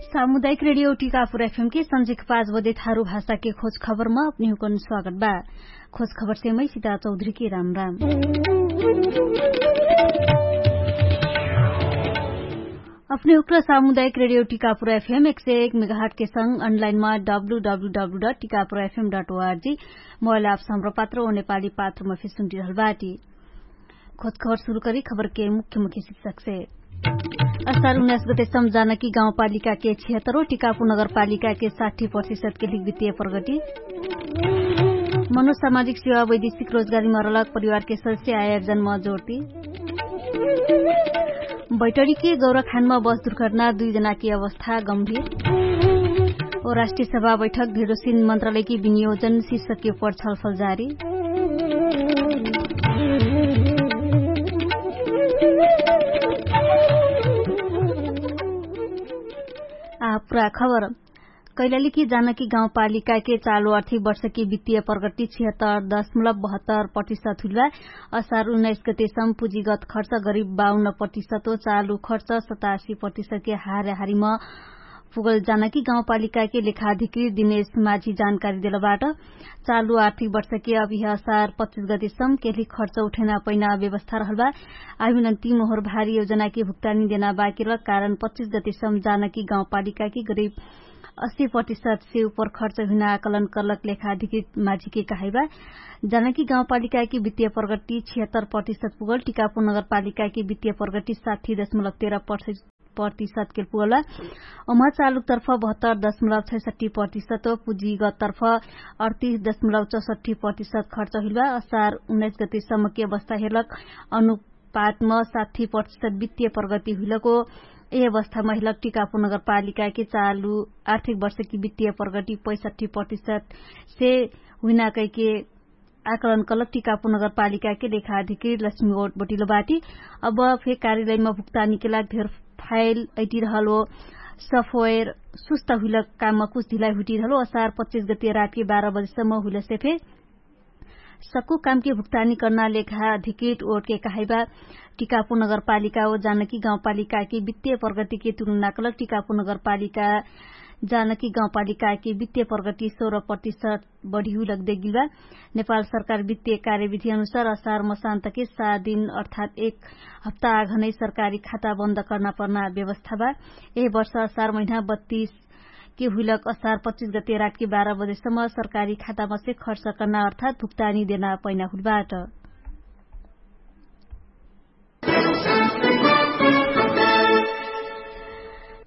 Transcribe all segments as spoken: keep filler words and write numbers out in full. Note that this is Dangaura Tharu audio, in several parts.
सामुदायिक रेडियो टिकापुर एफएम के संझिक पाँच बजे थारु भाषा के खोज खबरमा अपने हुकन स्वागत बा। खोज खबर से मै सिता चौधरी के राम राम। अपने हुक्र सामुदायिक रेडियो टिकापुर एफएम एक सय एक मेगाहट के संग अनलाइनमा W W W dot Tikapur FM dot O R G mobile app सम्र पात्र ओ नेपाली पात्रमा फिर सुन्टिरहल बाटी। खोज खबर सुरु करी खबर के मुख्य मुख्य शिक्षक से। अस्तार उन्नाइस गते सम्झाना कि गाउँपालिका के छिहत्तरो टिकापु नगरपालिका के साठी प्रतिशत के लिख वित्तीय प्रगति। मनोसामाजिक सेवा वैदेशिक रोजगारी मरलक परिवार के सदस्य आयोजन म जोर्ती। बैटरी के गौरखान म बस दुर्घटना दुई जना के अवस्था गम्भीर। ओ राष्ट्रिय सभा बैठक ढेरोसिन मन्त्रालय के विनियोजन शिर्षक के उपर छलफल जारी। आ पुरा खबर। कैलाली कि जानकी गाउँपालिका के चालु आर्थिक वर्ष कि वित्तीय प्रगति छिहत्तर दशमलब बहत्तर प्रतिशत हुइल बा। असार उन्नाइस गते सम पुँजीगत खर्च गरिब बाउन्न प्रतिशत हो चालु खर्च सतासी प्रतिशत के हारेहारीमा पुगल जानकी गाउँपालिका के लेखाधिकृत दिनेश माझी जानकारी देलबाट। चालु आर्थिक वर्ष के अभिह असार पच्चिस गते सम केली खर्च उठेना पैना व्यवस्था रहल बा। आभिनन्ती मोहर भारी योजना के भुक्तानी देना बाकिरल कारण पच्चिस गते सम जानकी गाउँपालिका के गरिब अस्सी प्रतिशत से उपर खर्च हुइना आकलन करलक लेखाधिकृत माझी के कहाइबा। जानकी गाउँपालिका के वित्तीय प्रगति छिहत्तर प्रतिशत पुगल टिकापुर नगरपालिका के वित्तीय प्रगति साठी दशमलब तेह्र प्रतिशत के पुगल बा। ओमा चालुक तर्फ बहत्तर दशमलब छैसठी प्रतिशत हो पुँजीगत तर्फ अडतिस दशमलब चौसठी प्रतिशत खर्च हुइल बा। असार उन्नाइस गते सम्म के अवस्था हेलक अनु पातम साठी प्रतिशत वित्तीय प्रगति हुइलको। यही अवस्थामा हिलक टिकापुर नगरपालिका के चालु आर्थिक वर्ष कि वित्तीय प्रगति पैसठी प्रतिशत से हुइना कैके आकलन कलक टिकापुर नगरपालिका के लेखाधिकृत लक्ष्मी ओट बटिलो बाटी। अब फे कार्यालयमा भुक्तानी के लाग धेर फाइल ऐटिरहल हो सफोयर सुस्त हुइलक काममा कुछ ढिलाइ हुइटिरहल हो असार पच्चिस गतिया रात के बाह्र बजेसम्म हुइलसे फे सक्कु कामके भुक्तानी कर्ना लेखा अधिकृत ओटके कहाइबा। टिकापु नगरपालिका ओ जानकी गाउँपालिकाके वित्तीय प्रगतिके तुलना कलक टिकापु नगरपालिका जानकी गाउँपालिकाके वित्तीय प्रगति सोह्र प्रतिशत बढिहु लग्देगिलबा। नेपाल सरकार वित्तीय कार्यविधि अनुसार असार मसान्तके सात दिन अर्थात् एक हप्ता आघनै सरकारी खाता बन्द कर्ना पर्ना व्यवस्था बा। एह वर्ष असार महिना बत्तीस के हुइलक असार पच्चिस गते रातके बाह्र बजेसम्म सरकारी खातामसे खर्च कर्ना अर्थात् भुक्तानी देना पैना हुइलबाट।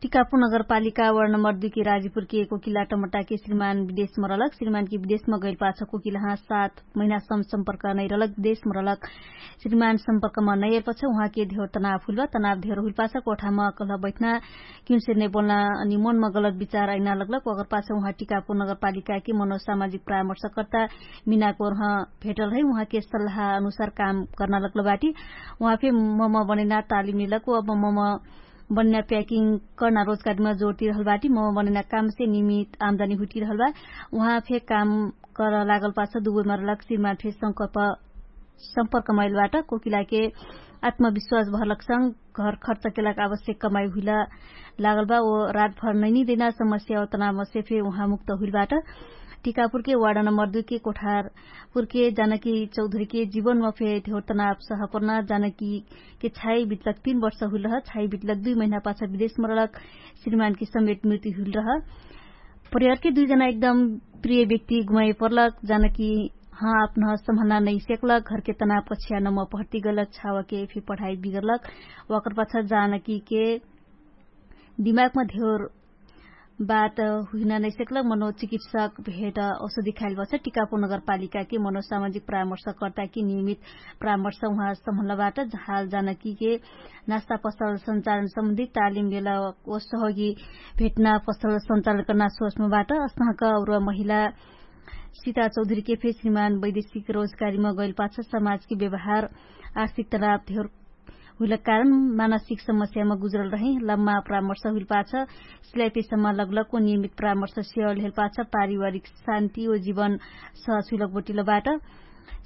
टिकापु नगरपालिका वर्ण नम्बर दुइ के राजीपुर के कोकिला टमटा के श्रीमान विदेश मरलक श्रीमान के विदेश मगैल पाछ कोकिला हाँ सात महिना सम सम्पर्क नैरलक विदेश मरलक। श्रीमान सम्पर्कमा नैरलपछ उहाँके धेर तनाव हुइलबा तनाव धेर हुइलपाछ कोठामा कलह बैठना किनसे नै बोल्ना अनि मनमा गलत विचार आइना लग्लक ओकर पाछ उहाँ टिकापुर नगरपालिकाके मनोसामाजिक परामर्शकर्ता मिनाको रह भेटल है उहाँके सल्लाह अनुसार काम कर्ना लग्लबाटी। उहाँ फे मम बनेना तालिम लेलक अब मम बन्या प्याकिङ कर्ना रोजगारीमा जोर तिरहलबाटी मम बनेना कामसे निमित आमदानी हुइटिरहलबा। उहाँ फे काम कर लागलपाछ दुबैमा रलक श्रीमान फे संकल्प सम्पर्क मैलबाट कोकिलाके आत्मविश्वास भरलक संग घर खर्च केलाक आवश्यक कमाइ हुइला लागलबा ओ रातभर नैनी देना समस्या ओतनामसे फे उहाँ मुक्त हुइलबाट। टिकापुरके वार्ड नम्बर दुइके कोठारपुरके जानकी चौधरीके जीवनमा फे धेर तनाव सहपर्ना जानकीके छाइ बितलक तीन वर्ष हुइलह छाइ बितलक दुइ महिना पाछ विदेशमा रलक श्रीमानके समेत मृत्यु हुइलरह। परिवारके दुइ जना एकदम प्रिय व्यक्ति गुमाइ पर्लक जानकी हाँ आपनह सम्हना नैसेक्लक घरके तनाव कछिया नम्म पहर्ति गलक छावके फे पढाइ बिगरलक। वाकर पाछ जानकीके दिमागमा धेर बात हुइना नैसेक्लक मनोचिकित्सक भेट औषधि खाइल बछ टिकापु नगरपालिकाके मनोसामाजिक परामर्शकर्ताके नियमित परामर्श उहाँ सम्हलबाट झाल जानकीके नास्ता पसल सञ्चालन सम्बन्धित तालिम लेला ओ सहयोगी भेटना पसल सञ्चालन कर्ना सोचमा बाट असनहक और महिला सिता चौधरीके फे श्रीमान वैदेशिक रोजगारीमा गैल पाछ समाजके व्यवहार आर्थिक तनाव धेर हुइलक कारण मानसिक समस्यामा गुजरल रहे। लम्मा परामर्श हुइल पाछ सिलाइपेसम्मा लगलक ओ नियमित परामर्श सेवा लेहल पाछ पारिवारिक शान्ति ओ जीवन सहज हुइलक बटिलबाट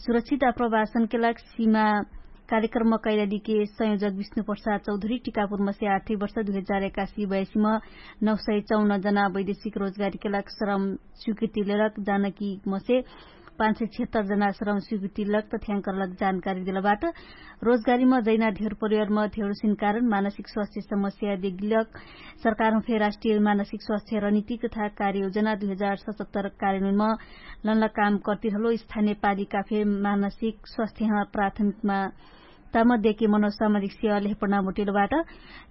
सुरक्षित आप्रवासनके लाग सीमा कार्यक्रममा कैलालीके संयोजक विष्णु प्रसाद चौधरी टिकापुरमसे आर्थिक वर्ष दुई हजार एकासी बयासीमा नौ सय चौन जना वैदेशिक रोजगारीके लाग श्रम स्वीकृति लेलक जानकीमसे पाँच सय छिहत्तर जना श्रम स्वीकृति लेलक तथ्याङ्क लेलक जानकारी देलबाट। रोजगारीमा जैना धेर परिवारमा धेरसिन कारण मानसिक स्वास्थ्य समस्या देखिलक। सरकारम फे राष्ट्रिय मानसिक स्वास्थ्य रणनीति तथा कार्ययोजना दुई हजार सतहत्तर कार्यनुनमा लनला काम कर्तिरहलो स्थानिय पालिका फे मानसिक स्वास्थ्यमा प्राथमिकमा ताम देके मनोसामाजिक सेवा लेहपडना मोटिलबाट।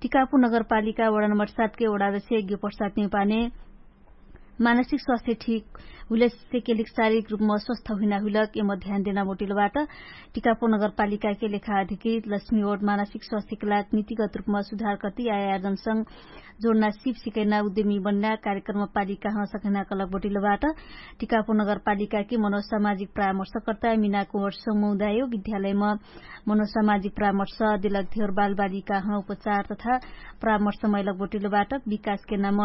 टिकापुर नगरपालिका वडा नम्बर सातके वडादस्य यज्ञ प्रसाद निपाने मानसिक स्वास्थ्य ठीक हुइलसे केलिक शारीरिक रूपमा स्वस्थ हुइना हुइलक एम ध्यान देना मोटिलबाट। टिकापुर नगरपालिकाके लेखा अधिकृत लक्ष्मी ओट मानसिक स्वास्थ्यके लाग नीतिगत रूपमा सुधार कर्ति आयार्जनसँग जोडना सिप सिकैना उद्यमी बन्ना कार्यक्रममा पालिका हन सकैना कलक बोटिलबाट। टिकापुर नगरपालिकाके मनोसामाजिक परामर्शकर्ता मिनाकुवर समुदायो विद्यालयमा मनोसामाजिक परामर्श देलक धेर बालबालिका हन उपचार तथा परामर्श मैलक बोटिलबाट। विकासके नाम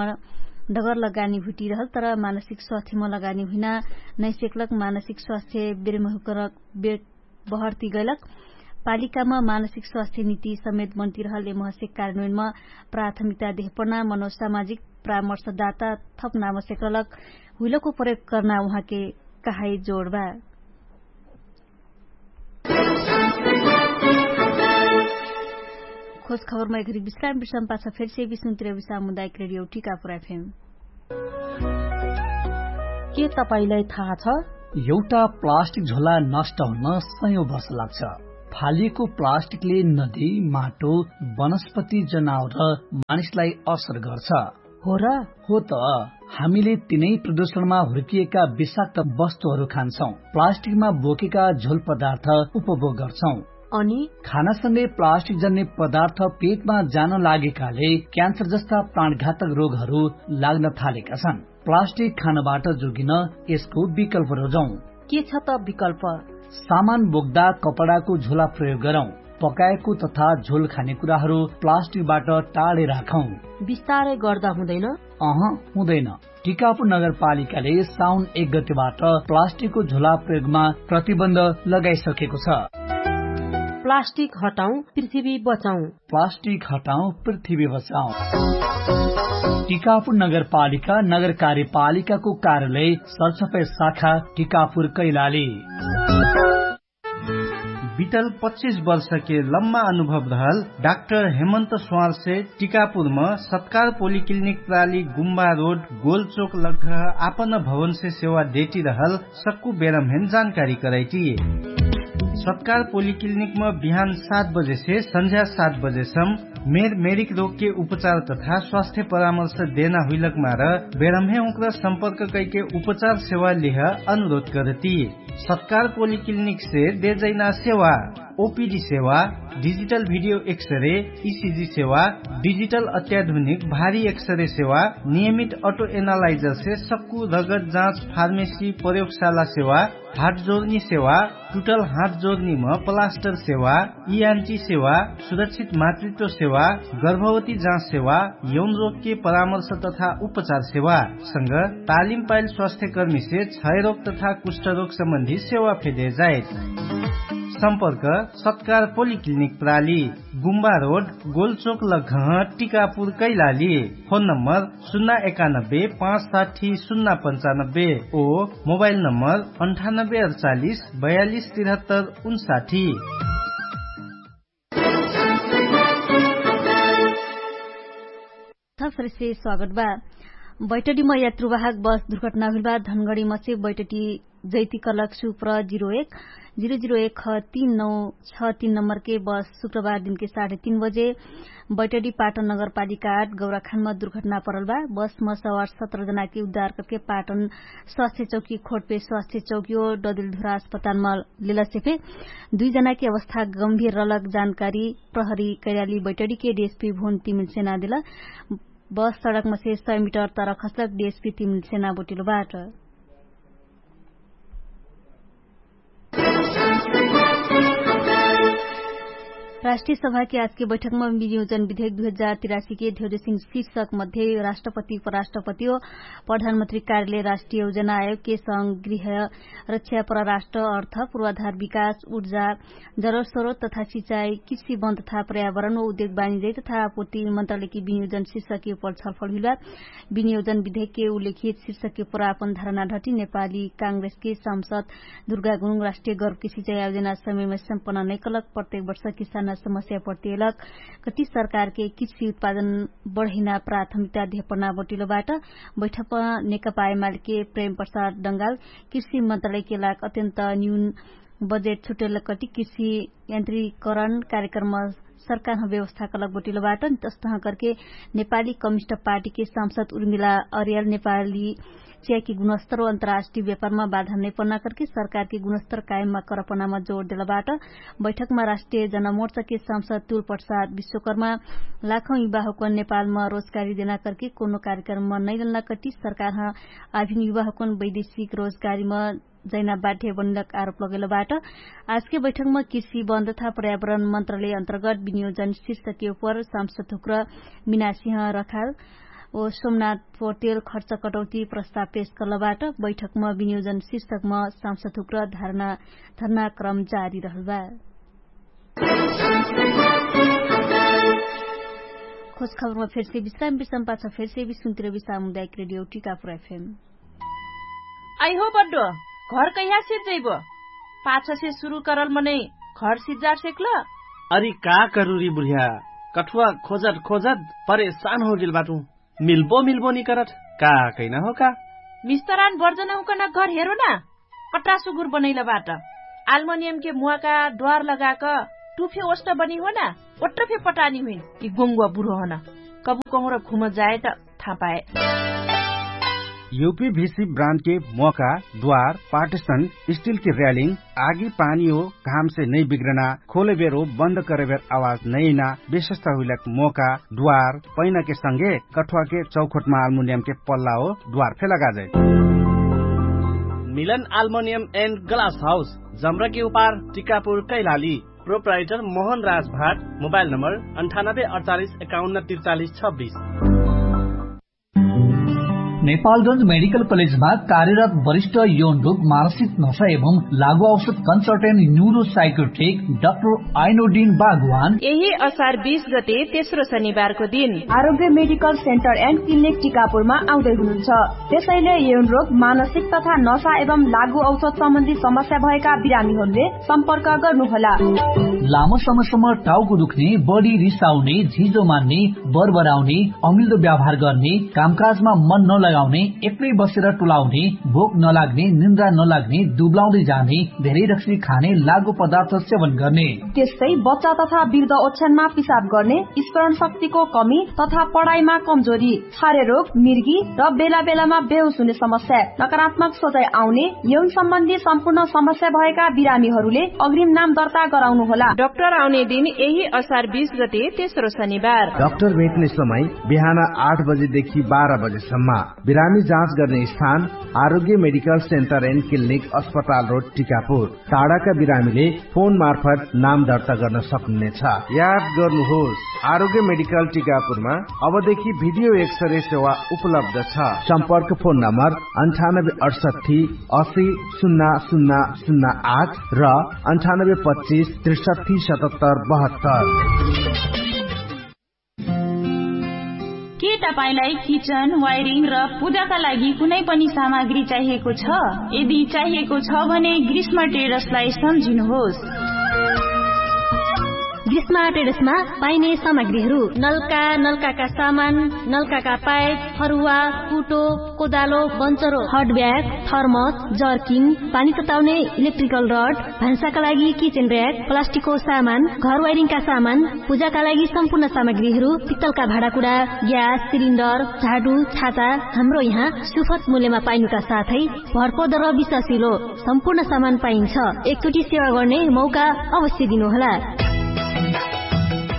डगर लगानी हुइटिरहल तर मानसिक स्वास्थ्यमा लगानी हुइना नैसेकलक मानसिक स्वास्थ्य बेरमहुकरक बे बहर्ति गैलक। पालिकामा मानसिक स्वास्थ्य निति समेत बन्तिरहल एमहसे कार्यान्वयनमा प्राथमिकता देहपडना मनोसामाजिक परामर्शदाता थप नामसे कलक हुइलको प्रयोग कर्ना उहाँके कहाई जोडबा। खोज खबरमा एघरी विश्राम विश्राम पाछ फेरसे विष्णुतिर विश्राम मुदायक रेडियो टिकापुर एफएम। के तपाईंलाई थाहा छ? एउटा प्लास्टिक झोला नष्ट हुन सयौं वर्ष लाग्छ। फालिएको प्लास्टिकले नदी, माटो, वनस्पति, जनावर र मानिसलाई असर गर्छ। हो र? हो त। हामीले तिनै प्रदूषणमा हुर्किएका विषाक्त वस्तुहरू खान्छौं, प्लास्टिकमा बोकेका झोल पदार्थ उपभोग गर्छौं। अनि खानासँगै प्लास्टिक जन्ने पदार्थ पेटमा जान लागेकाले क्यान्सर जस्ता प्राणघातक रोगहरू लाग्न थालेका छन्। प्लास्टिक खानबाट जोगिन यसको विकल्प रोजौं। के छ त विकल्प? सामान बोक्दा कपडाको झोला प्रयोग गरौं। पकाएको तथा झोल खाने कुराहरू प्लास्टिकबाट टाढे राखौं। बिस्तारै गर्दा हुँदैन? अह, हुँदैन। टिकापुर नगरपालिकाले साउन एक गतिबाट प्लास्टिकको झोला प्रयोगमा प्रतिबन्ध लगाइसकेको छ। प्लास्टिक हटाउँ, पृथ्वी बचाउँ। प्लास्टिक हटाउँ, पृथ्वी बचाउँ। टिकापुर नगरपालिका नगर कार्यपालिकाको कार्यालय सरसफाई शाखा टिकापुर कैलाली। बितल पच्चिस वर्षके लम्मा अनुभव रहल डाक्टर हेमन्त स्वारसे टिकापुरम सत्कार पोलिक्लिनिक प्राली गुम्बा रोड गोलचोक लग्घ आपन भवनसे सेवा देटिरहल सक्कु बेरम्हेन जानकारी करैटी। सत्कार पोलिक्लिनिकम बिहान सात बजेसे सन्झ्या सात बजेसम मेर मेरिक रोगके उपचार तथा स्वास्थ्य परामर्श देना हुइलक मार बेरम्हे उक्र सम्पर्क कैके उपचार सेवा लिह अनुरोध करती। सत्कार पोलिक्लिनिकसे देजैना सेवा ओपिडी सेवा, डिजिटल भिडियो एक्सरे, इसिजी सेवा, डिजिटल अत्याधुनिक भारी एक्सरे सेवा, नियमित अटो एनालाइजरसे सक्कु रगत जाँच फार्मेसी प्रयोगशाला सेवा, हाटजोर्नी सेवा, टुटल हाटजोर्नीम प्लास्टर सेवा, इआन्टी सेवा, सुरक्षित मातृत्व सेवा, गर्भवती जाँच सेवा, यौन रोगके परामर्श तथा उपचार सेवा संग तालिम पाइल स्वास्थ्यकर्मीसे क्षयरोग तथा कुष्ठरोग सम्बन्धी सेवा फेदे जाइत। सम्पर्क सत्कार पोलिक्लिनिक प्राली, गुम्बा रोड, गोलचोक लग्घह, टिकापुर कैलाली। फोन नम्बर सुन्ना एकानब्बे पाँच साठी सुन्ना पन्चानब्बे ओ मोबाइल नम्बर अन्ठानब्बे अडचालिस बयालिस तिरहत्तर उन्साठी। थप सरेसे स्वागत बा। बैटडीमा यात्रुवाहक बस दुर्घटना हुइल बा। धनगडीमा से बैटडी जैती कलक सुप्र जिरो एक जिरो जिरो एक ख तीन नौ छ तीन नम्बरके बस शुक्रबार दिनके साढे तीन बजे बैटडी पाटन नगरपालिका आठ गौराखानमा दुर्घटना परल बा। बसमा सवार सत्र जनाके उद्धार करके पाटन स्वास्थ्य चौकी खोटपे स्वास्थ्य चौकीओ डदिलधुरा अस्पतालमा लेलसे फे दुई जनाके अवस्था गम्भीर रहलक जानकारी प्रहरी कैराली बैटडीके डिएसपी भुन तिमिल सेना देला। बस सडकमा से सय मिटर तर खसलक डिएसपी तिमिल सेना बोटिलो बाट। राष्ट्रिय सभाके आजके बैठकमा विनियोजन विधेक दुई हजार तिरासीके धेउरेसिन शीर्षक मध्ये राष्ट्रपति उपराष्ट्रपति ओ प्रधानमन्त्री कार्यालय राष्ट्रिय योजना आयोगके संगृह रक्षा परराष्ट्र अर्थ पूर्वाधार विकास ऊर्जा जरल स्रोत तथा सिचाइ कृषि वन तथा पर्यावरण ओ उद्योग बानिजै तथा आपूर्ति मन्त्रालयके विनियोजन शीर्षके उपर छलफल हुइलबा। विनियोजन विधेकके उल्लेखित शीर्षके पुरापन धारणा ढटी नेपाली काङ्ग्रेसके सांसद दुर्गा गुरुङ राष्ट्रिय गर्वके सिचाइ आयोजना समयमा सम्पन्न नैकलक प्रत्येक वर्ष किसाना समस्या प्रतियलक कति सरकारके कृषि उत्पादन बढैना प्राथमिकता धेपना बटिलोबाट। बैठकमा नेकपा एमालेके प्रेम प्रसाद डङ्गाल कृषि मन्त्रालयके लाग अत्यन्त न्यून बजेट छुटेलक कति कृषि यन्त्रीकरण कार्यक्रम सरकारह व्यवस्थाकलक बटिलोबाट। तस्तह करके नेपाली कमिस्ट पार्टीके सांसद उर्मिला अरियाल नेपाली चियाकी गुणस्तर अन्तराष्ट्रिय व्यापारमा बाधा नैपन्ना करके सरकारके गुणस्तर कायममा करपनामा जोड देलबाट। बैठकमा राष्ट्रिय जनमोर्चाके सांसद तुल प्रसाद विश्वकर्मा लाखौं युवाहुकन नेपालमा रोजगारी देना करके कोनो कार्यक्रममा नैलन्ना कति सरकारह आभिन युवाहुकन वैदेशिक रोजगारीमा जैना बाठे बनिलक आरोप लगैलबाट। आजके बैठकमा कृषि वन तथा पर्यावरण मन्त्रालय अन्तर्गत विनियोजन शीर्षके उपर सांसद हुक्र मिनासिह रखाल ओ सोमनाथ पोर्टेल खर्च कटौती प्रस्ताव पेश कलबाट। बैठकमा विनियोजन शीर्षकमा सांसद हुक्र धर्ना धर्नाक्रम जारी रहलबा। खोज खबरमा फेरसे विश्राम विश्राम पाछ फेरसे विश्राम तिरबी सामुदायिक रेडियो टिकापुर एफएम। आइ हो बड्डो, घर कैहा सिद्ध जैबो? पाछसे सुरु करल मनै घर सिद्ध जाट सेक्ल? अरि का करुरी बुढिया, कठुवा खोजट खोजट परेशान होगेल बाटु। मिल्बो मिल्बो निकरट, का कैना हो का? मिस्तरान बर्जन हुकन घर हेरो ना। कट्रा सुगुर बनैल बाट। आल्मनियमके मुवाका द्वार लगाक टुफे ओष्ट बनी हो ना। ओट्र फे पटानी हुइन कि गोङ्गुवा बुढो हन। कबु कहुँर घुम जाए त थाहा पाए। युपी भिसी ब्रान्डके मोका द्वार पार्टिसन स्टिलके र्यालिङ आगी पानी हो घामसे नै बिग्रना खोलेबेर हो बन्द करेबेर आवाज नैना विशेषता हुइलक मोका द्वार पैनाके संगे कठुवाके चौखोटमा आल्मुनियमके पल्ला हो द्वार फे लगाजै। मिलन आल्मुनियम एन्ड ग्लास हाउस जम्रके उपार टिकापुर कैलाली। प्रोप्राइटर मोहन राज भाट। मोबाइल नम्बर अन्ठानब्बे अडचालिस एकाउन्न त्रिचालिस छब्बिस। नेपालगंज मेडिकल कलेजमा कार्यरत वरिष्ठ यौन रोग मानसिक नशा एवं लागु औषध कन्सल्टेन्ट न्युरो साइकोट्रिक डाक्टर आइनोडिन बागवान यही असार बीस गते तेस्रो शनिबारको दिन आरोग्य मेडिकल सेन्टर एन्ड क्लिनिक टिकापुरमा आउँदै हुनुहुन्छ। त्यसैले यौन रोग मानसिक तथा नशा एवं लागु औषध सम्बन्धी समस्या भएका बिरामीहरूले सम्पर्क गर्नुहोला। लामो समयसम्म टाउको दुख्ने, बढी रिसाउने, झिजो मान्ने, बरबराउने, अमिल्दो व्यवहार गर्ने, कामकाजमा मन नलगाउने, एक्लै बसेर टुलाउने, भोक नलाग्ने, निन्द्रा नलाग्ने, दुब्लाउँदै जाने, धेरै रक्सी खाने, लागु पदार्थ सेवन गर्ने। त्यस्तै बच्चा तथा वृद्ध ओछ्यानमा पिसाब गर्ने, स्मरण शक्तिको कमी तथा पढाइमा कमजोरी, छारे रोग, मिर्गी र बेला बेलामा बेहोस हुने समस्या, नकारात्मक सोचाइ आउने, यौन सम्बन्धी सम्पूर्ण समस्या भएका बिरामीहरूले अग्रिम नाम दर्ता गराउनु होला। डाक्टर आउने दिन यही असार बीस गते तेस्रो शनिबार। डाक्टर भेट्ने समय बिहान आठ बजेदेखि बाह्र बजेसम्म। बिरामी जाँच गर्ने स्थान आरोग्य मेडिकल सेन्टर एन्ड क्लिनिक अस्पताल रोड टिकापुर। टाढाका बिरामीले फोन मार्फत नाम दर्ता गर्न सक्नुहुनेछ। याद गर्नुहोस्, आरोग्य मेडिकल टिकापुरमा अबदेखि भिडियो एक्सरे सेवा उपलब्ध छ। सम्पर्क फोन नम्बर अन्ठानब्बे अठसट्ठी असी सुन्ना सुन्ना सुन्ना आठ र अन्ठानब्बे पच्चिस त्रिसट्ठी सतहत्तर बहत्तर। के तपाईंलाई किचन वायरिङ र पूजाका लागि कुनै पनि सामग्री चाहिएको छ? यदि चाहिएको छ भने ग्रीष्म ट्रेडर्सलाई सम्झिनुहोस्। ग्रीष्म ट्रेडर्समा पाइने सामग्रीहरू नलका नलकाका सामान, नलकाका पाइप, फरुवा, कुटो, कोदालो, बन्चरो, हट ब्याग, थर्मस, जर्किङ, पानी तताउने इलेक्ट्रिकल रड, भान्साका लागि किचेन र्याक, प्लास्टिकको सामान, घर वाइरिङका सामान, पूजाका लागि सम्पूर्ण सामग्रीहरू, पित्तलका भाँडाकुडा, ग्यास सिलिन्डर, झाडु, छाता, हाम्रो यहाँ सुफत मूल्यमा पाइनुका साथै भरपर्दो र विश्वासिलो सम्पूर्ण सामान पाइन्छ। एकचोटि सेवा गर्ने मौका अवश्य दिनुहोला।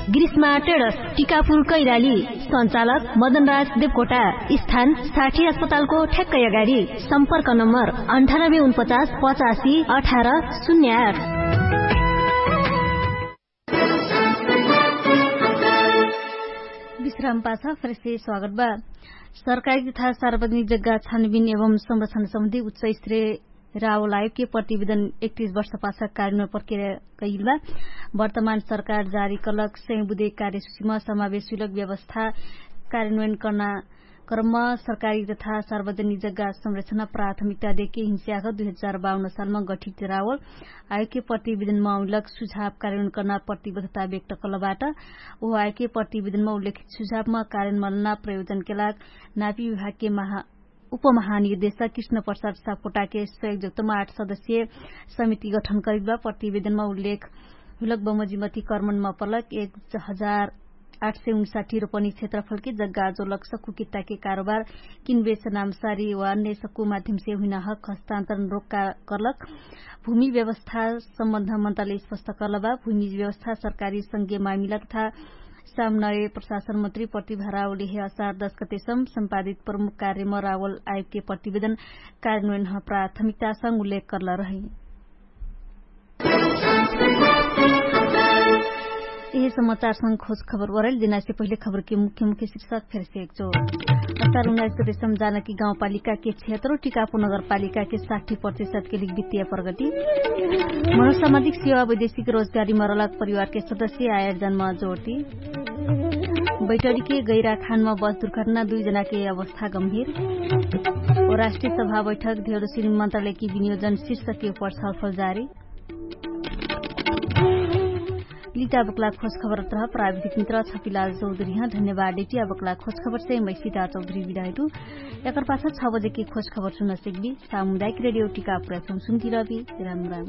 ग्रीष्मा ट्रेडर्स, टिकापुर कैलाली। सञ्चालक मदनराज देवकोटा। स्थान साठी अस्पतालको ठ्याक्कै अगाडि। सम्पर्क नम्बर अन्ठानब्बे उनपचास पचासी अठार शून्य आठ। विश्राम पाछ फेरसे स्वागत बा। सरकारी तथा सार्वजनिक जग्गा छानबिन एवं संरक्षण सम्बन्धी उच्च स्त्रीय रावल आयोगके प्रतिवेदन एकतिस वर्ष पाछ कार्यमा प्रक्रिया कैल बा। वर्तमान सरकार जारी कलक सयौं बुधे कार्यसूचीमा समावेश हुइलक व्यवस्था कार्यान्वयन कर्ना क्रममा सरकारी तथा सार्वजनिक जग्गा संरक्षणा प्राथमिकता देके हिंस्याख दुई हजार बाउन्न सालमा गठित रावल आयोगके प्रतिवेदनमा उल्लक सुझाव कार्यान्वयन कर्ना प्रतिबद्धता व्यक्त कलबाट। ओह आयोगके प्रतिवेदनमा उल्लेखित सुझावमा कार्यान्वयन प्रयोजनके लाग नापी विभागके महा उपमहानिर्देशक कृष्ण प्रसाद सापकोटाके सहयोग जगतमा आठ सदस्यीय समिति गठन करिक बा। प्रतिवेदनमा उल्लेख हुलक बमजिमती कर्मनमा पलक एक हजार आठ सय उनसाठी रोपनी क्षेत्रफलके जग्गा जोलक सक्कु कित्ताके कारोबार किनबेच नामसारी वा नेसक्कु माध्यमसे हुइना हक हस्तान्तरण रोक्का कर्लक भूमि व्यवस्था सम्बन्ध मन्त्रालय स्पष्ट कर्लबा। भूमि व्यवस्था सरकारी संघीय मामिला तथा सामनय प्रशासन मन्त्री प्रतिभा रावले हे असार दस गतेसम सम्पादित प्रमुख कार्यमा रावल आयोगके प्रतिवेदन कार्यान्वयन प्राथमिकतासँग उल्लेख कर्ल रही। यही समाचारसँग खोज खबर वरैल जेनासे पहिले खबरके मुख्य मुख्य शीर्षक फेरसे एकचो अस्तार उन्नाइस गतेसम जानकी गाउँपालिकाके क्षेत्र टिकापु नगरपालिकाके साठी प्रतिशतके लिग वित्तीय प्रगति। मनोसामाजिक सेवा वैदेशिक रोजगारीमा रलक परिवारके सदस्य आयोजनमा जोर्ती। बैठरीके गैराखानमा बस दुर्घटना दुई जनाके अवस्था गम्भीर। ओ राष्ट्रिय सभा बैठक धेरोसिन मन्त्रालयकी विनियोजन शीर्षके उपर छलफल जारी। लिटा बक्ला खोज खबर तरह प्राविधिक मित्र छपिला चौधरी ह धन्यवाद। डेटी अबक्ला खोज खबर से मै सीता चौधरी विदायटु। एकर पाछा छ बजेके खोज खबर सुन सेकबी। सामुदायिक रेडियो टिका प्रथम सुन्ती रहबी। राम राम।